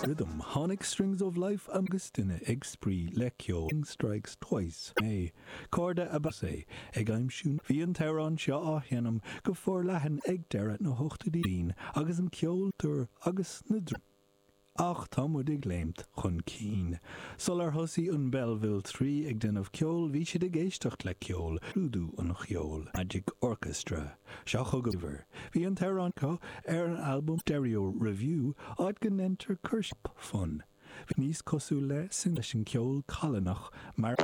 Rhythm. Tháinig Strings of Life agus duine ag spraoi le ceol Strikes Twice é. Cairde ab ea é, ag aimsiú Bhí an t-amhrán seo á sheinm go forleathan ag deireadh na hochtóidí agus an ceol agus na Ach tá muid ag léimt chun cinn. Sular thosaigh an Belleville 3 ag déanamh ceoil bhí siad ag éisteacht le ceol, scrúdú an cheoil. Magic Orchestra. Seo chugaibh. Bhí an t-amhrán seo ar an albam Stereo Revue áit go ndeintear cur fun. Bhí níos cosúil le sin leis an ceol callánach mar.